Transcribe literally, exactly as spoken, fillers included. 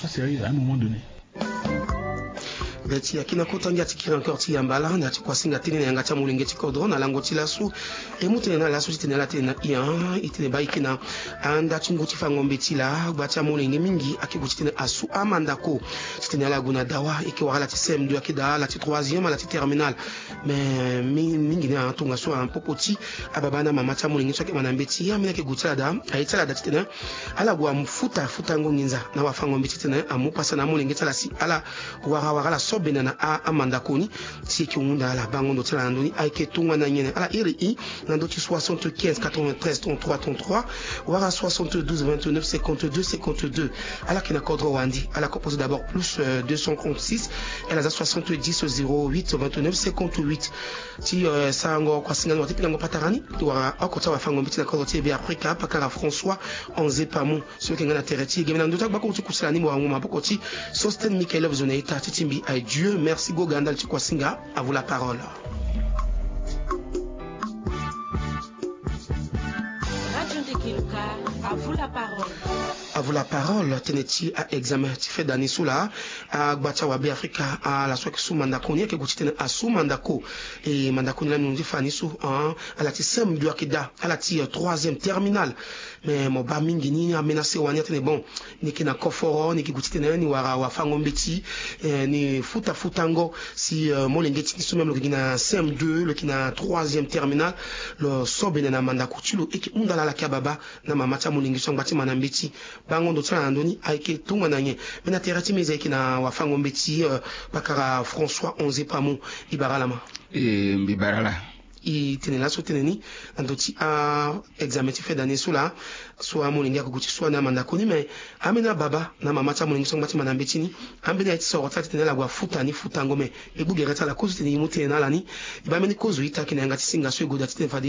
Sérieux à un moment donné. Be ti yaki na kota ngia ti kiri encore ti yamba ala na ya ti kuasinga tënë na yanga ti amolenge ti kodro na lango ti laso. E mu tënë na laso ti tene ala tene na ian e tene baa e yeke na anda ti ngu ti fango mbeti laa gba ti amolenge mingi ayeke gue ti tene asu amandako. Ti tene ala gue na dawa e yeke wara ala ti C M deux ayeke daa ala ti troisième ala ti terminale. Me mingi ni atongaso apopo ti ababa na mama ti amolenge so ayeke ma na mbeti ambeni ayeke gue ti ala daa aye ti ala daa ti tene ala gue afuta afutango nginza na wafango mbeti ti tene amu pasa na amolenge ti ala si ala wara wara ala so bena na amandako ni. Si e yeke hunda ala bango ndo ti ala na ndoni ayeke tongana nyen ala iri i na ndö ti soixante-quinze quatre-vingt-treize trente-trois trente-trois wala soixante-douze vingt-neuf cinquante-deux cinquante-deux. Ala yeke na kodro wande ala composé d'abord plus deux cent trente-six. Ala za soixante-dix zéro huit vingt-neuf cinquante-huit. Ti sarango kuasinga ni wala ti pingango patara ni wala oko ti awafango mbeti na kodro ti e be afrika pakara françois onze pamo. So yeke nga na tere ti e geme na ndö ti agbakuru ti kusala ni mo wangu maboko ti sosten michael love zo na ita ti timbi aye dieu merci goga ndali ti kuasinga. À vous la parole. Radio ndekeluka. À vous la parole. À vous la parole tënë ti aexamen ti feda ni so laa agba ti awabe afrika ala so ayeke su mandako ni ayeke gue ti tene asu mandako. E mandako ni lani ni ti fa ni so ala ti seme ndo ayeke daa ala ti troisième terminale. Me mo baa mingi ni amena sewa ni atene bon, ni yeke na koforo ni yeke gue ti tene ni wara wafango mbeti. Ni futa futango si molenge ti ni so même lo yeke gi na cm deux lo yeke na troisième terminale. Lo so bene na mandako ti lo e yeke hunda laa ala yeke ababa na mama ti amolenge so angba ti ma na mbeti. Bango ndo ti ala na ndö ni ayeke tongana nyen? Me na tere ti meza e yeke na wafango mbeti pakara françois onze pamo. E bara ala ma. E mbi bara ala. E tene laso tene ni na ndö ti aexamen ti fin d'année so laa so amolenge ako gue ti sua ni amandako ni me ambeni ababa na mama ti amolenge so angba ti ma na mbeti ni. Ambeni aye ti soro ti ala ti tene ala gue afuta ni futango me e gbu gere ti ala kozo ti tene e mu tene na ala ni. E baa ambeni kozo ita ayeke na yanga ti singa so e gue daa ti tene fade